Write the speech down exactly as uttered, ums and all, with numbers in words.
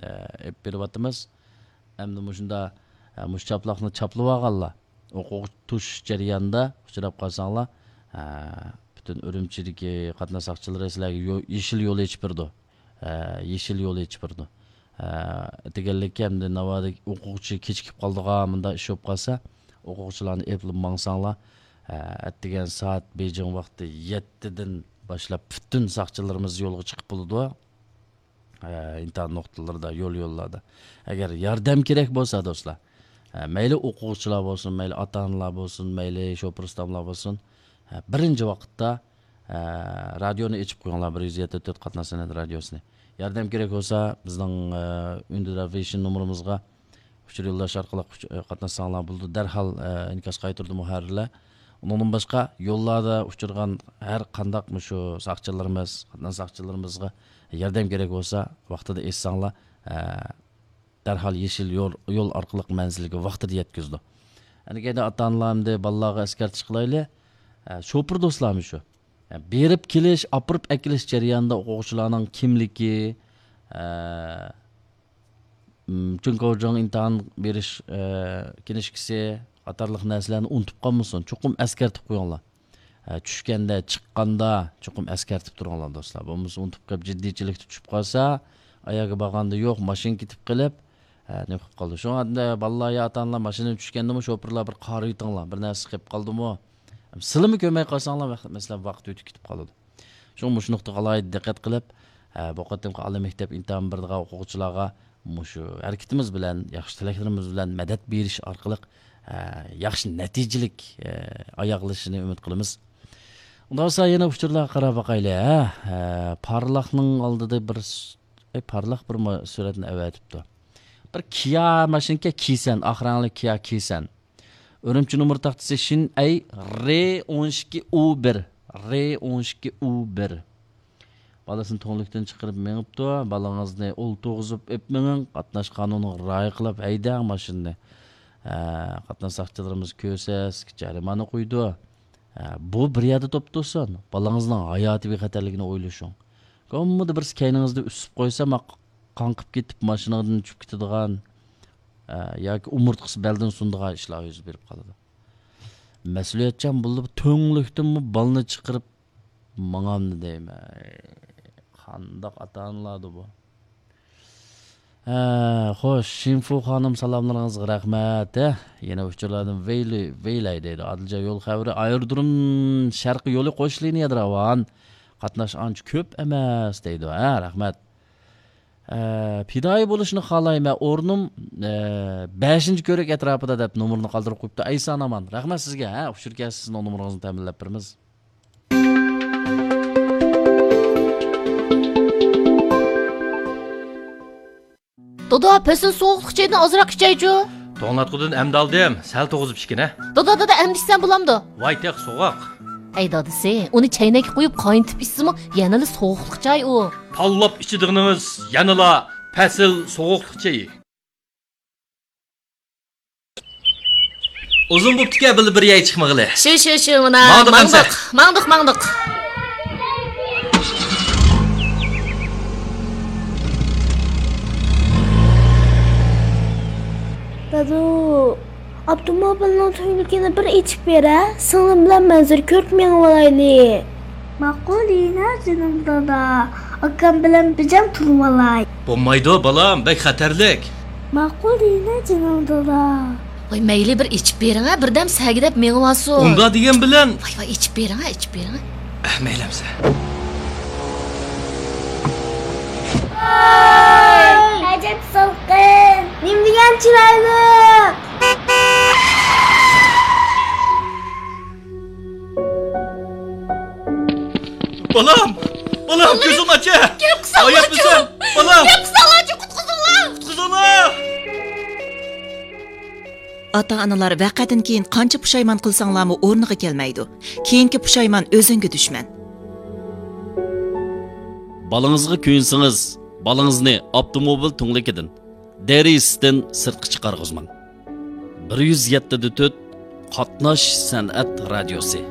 ئە، ئېلىپ بېرىۋاتىمىز. ئەمدى مۇشۇندا، ئە، مۇشۇ چاپلاقنى چاپلىۋالغانلار، ئوقۇتۇش جەريانىدا ئۇچراپ قالساڭلار، ئە، پۈتۈن ئۈرۈمچىدىكى قاتناش ساقچىلىرى سىلەرگە يو-، يېشىل يول ئېچىپ بېرىدۇ. ئە، يېشىل يول ئېچىپ بېرىدۇ. ئە، دېگەنلىككە، ئەمدى ناۋادا ئوقۇغۇچى كېچىكىپ قالىدىغان مۇنداق ئىش بولۇپ قالسا، ئوقۇغۇچىلارنى ئېلىپلا ماڭساڭلار، ئە، ئەتىگەن سائەت بېيجىڭ ۋاقتى يەتتىدىن باشلاپ پۈتۈن ساقچىلىرىمىز يولغا چىقىپ بولىدۇ. ئە، ئىمتىھان نۇقتىلىرىدا، يول يوللاردا. ئەگەر ياردەم كېرەك بولسا، دوستلار، ئە، مەيلى ئوقۇغۇچىلار بولسۇن، مەيلى ئاتا-ئانىلار بولسۇن، مەيلى شوپۇر ئۇستاملار بولسۇن، ئە، بىرىنچى ۋاقىتتا، ئە، رادىيونى ئېچىپ قويۇڭلار، بىر يۈز يەتتە تۆت قاتناش سەنئەت رادىيوسىنى. ياردەم كېرەك بولسا، بىزنىڭ، ئە، ئۈندىدار ۋىژن نومۇرىمىزغا ئۇچۇر يوللاش ئارقىلىق ئۇچ-، ئە، قاتناشساڭلار بولىدۇ. دەرھال، ئە، ئىنكاس قايتۇردى مۇھەررىرلەر. ئۇنىڭدىن باشقا، يوللاردا ئۇچرىغان ھەر قانداق مۇشۇ ساقچىلىرىمىز، قاتناش ساقچىلىرىمىزغا ياردەم كېرەك بولسا، ۋاقتىدا ئېيتساڭلار، ئە، دەرھال يېشىل يول، يول ئارقىلىق مەنزىلگە ۋاقتىدا يەتكۈزىدۇ. ئەنە كەينىدە ئاتا-ئانىلار ئەمدى بالىلارغا ئەسكەرتىش قىلايلى. ئە، شوپۇر دوستلارمۇ شۇ. ئە، بېرىپ كېلىش، ئاپىرىپ ئەكېلىش جەريانىدا ئوقۇغۇچىلارنىڭ كىملىكى، ئە، م، جۇڭگوجۇڭ ئىمتىھان بېرىش، ئە، كىنىشكىسى قاتارلىق نەرسىلەرنى ئۇنتۇپ قالمىسۇن. چوقۇم ئەسكەرتىپ قويۇڭلار. ئە، چۈشكەندە، چىققاندا چوقۇم ئەسكەرتىپ تۇرۇڭلار، دوستلار. بولمىسا ئۇنتۇپ قېلىپ، جىددىيچىلىكتە چۈشۈپ قالسا، ئاياغغا بارغاندا يوق، ماشىنا كېتىپ قېلىپ، ئە، نېمە قىلىپ قالىدۇ. شۇڭا ئەمدى بالىلار يا ئاتا-ئانىلار ماشىنىدىن چۈشكەندىمۇ شوپۇرلار بىر قارىۋېتىڭلار، بىر نەرسە قېلىپ قالدىمۇ؟ سىلىمۇ كۆرمەي قالساڭلار، ۋەق-، مەسىلەن، ۋاقىت ئۆتۈپ كېتىپ قالىدۇ. شۇڭا مۇشۇ نۇقتىغا ئالاھىدە دىققەت قىلىپ، ئە، بۇ قېتىمقى ئالىي مەكتەپ ئىمتىھان بېرىدىغان ئوقۇغۇچىلارغا مۇشۇ ھەرىكىتىمىز بىلەن، ياخشى تىلەكلىرىمىز بىلەن مەدەت بېرىش ئارقىلىق، ئە، ياخشى نەتىجىلىك، ئە، ئاياغلىشىنى ئۈمىد قىلىمىز. ئۇنداق بولسا يەنە ئۇچۇرلارغا قاراپ باقايلى، ھە؟ ئە، پارلاقنىڭ ئالدىدا بىر س-، ئەي، پارلاق بىر ما-، سۈرەتنى ئەۋەتىپتۇ. بىر كىيا ماشىنىكەن، كىسەن، ئاق رەڭلىك كىيا كىسەن. ئۈرۈمچى نومۇر تاختىسى شىن ئەي رې ئون ئىككى ئۇ بىر، رې ئون ئىككى ئۇ بىر. بالىسىنى تۈڭلۈكتىن چىقىرىپ مېڭىپتۇ. بالىڭىزنى ئولتۇرغۇزۇپ ئېپ مېڭىڭ. قاتناش قانۇنىغا رىئايە قىلىپ ھەيدەڭ ماشىنىنى. ھە، قاتناش ساقچىلىرىمىز كۆرسە، سىزگە جەرىمانە قويىدۇ. ھە، بۇ بىر يەردە توپ تۇرسۇن. بالىڭىزنىڭ ھاياتى بىخەتەرلىكىنى ئويلىشىڭ. كوممىدا بىرسى كەينىڭىزدە ئۈسۈپ قويسا، ما قاڭقىپ كېتىپ، ماشىنىڭىزدىن چۈشۈپ كېتىدىغان، ھە، ياكى ئومۇرتقىسى بەلدىن سۇنىدىغان ئىشلار يۈز بېرىپ قالىدۇ. مەسئۇلىيەتچان بولۇپ، تۈڭلۈكتىنمۇ بالىنى چىقىرىپ، ماڭامدۇ دەيمەن. قانداق ئاتا-ئانىلاردۇ بۇ؟ ھە، خوش، شىنفۇ خانىم، سالاملىرىڭىزغا رەھمەت. ھە، يەنە ئۇچۇرلاردىن ۋەيلى، ۋەيلەي دەيدۇ. ئادىلجان يول خەۋىرى، ئايرودروم شەرقىي يولى قوش لىنىيەدە راۋان. قاتناش ئانچە كۆپ ئەمەس دەيدۇ. ھە، رەھمەت. ھە، پىدائىي بولۇشنى خالايمەن. ئورنۇم، ھە، بەشىنچى كۆۋرۈك ئەتراپىدا دەپ نومۇرنى قالدۇرۇپ قويۇپتۇ. ئەيسان ئامان. رەھمەت سىزگە. ھە، ئۇچۇر كەلسە سىزنىڭ نومۇرىڭىزنى تەمىنلەپ بېرىمىز. دادا، پەسىل سوغۇقلۇق چايدىن ئازراق ئىچەيچۇ. توڭلاتقۇدىن ئەمدى ئالدىم، سەل توغۇزۇپ ئىچكىنە. دادا، دادا، ئەمدى ئىچسەم بولامدۇ؟ ۋاي، تېخى سوغۇق. ئەي دادىسى، ئۇنى چەينەككە قۇيۇپ قاينىتىپ ئىچسىمۇ يەنىلا سوغۇقلۇق چاي ئۇ. تاللاپ ئىچىدىغىنىڭىز يەنىلا پەسىل سوغۇقلۇق چېيى. ئۇزۇن بوپتىكەن بىللە بىر يەرگە چىقمىغىلى. شۇ، شۇ، شۇ، مانا، ماڭدۇق ماڭدۇق، ئەمسە. ماڭدۇق، ماڭدۇق. دادۇ، ئاپتوموبىلنىڭ تۈڭلۈكىنى بىر ئېچىپ بېرە، سىڭلىم بىلەن مەنزىرە كۆرۈپ مېڭىۋالايلى. ماقۇل دېگىنە جېنىم دادا، ئاكام بىلەن بىجام تۇرۇۋالاي. بولمايدۇ بالام، بەك خەتەرلىك. ماقۇل دېگىنە جېنىم دادا. ۋاي مەيلى بىر ئېچىپ بېرىڭە، بىردەم سەگىدەپ مېڭىۋالسۇن. ئۇنداق دېگەن بىلەن. ۋاي ۋاي ئېچىپ بېرىڭە، ئېچىپ بېرىڭە. ئەھ، مەيلى ئەمسە. ۋاي ئەجەب سالقىن، نېمە دېگەن چىرايلىق. بالام! بالام، كۆزۈڭنى ئاچە! گەپ قىلساڭلارچۇ! بالام! گەپ قىلساڭلارچۇ، قۇتقۇزۇڭلار! قۇتقۇزۇڭلار! ئاتا-ئانىلار ۋەقەدىن كېيىن قانچە پۇشايمان قىلساڭلارمۇ ئورنىغا كەلمەيدۇ. كېيىنكى پۇشايمان ئۆزۈڭگە دۈشمەن. بالىڭىزغا كۆيۈنسىڭىز، بالىڭىزنى ئاپتوموبىل تۈڭلۈكىدىن، دېرىزىسىدىن سىرتقا چىقارغۇزماڭ. بىر يۈز يەتتە دە تۆت قاتناش سەنئەت رادىيوسى.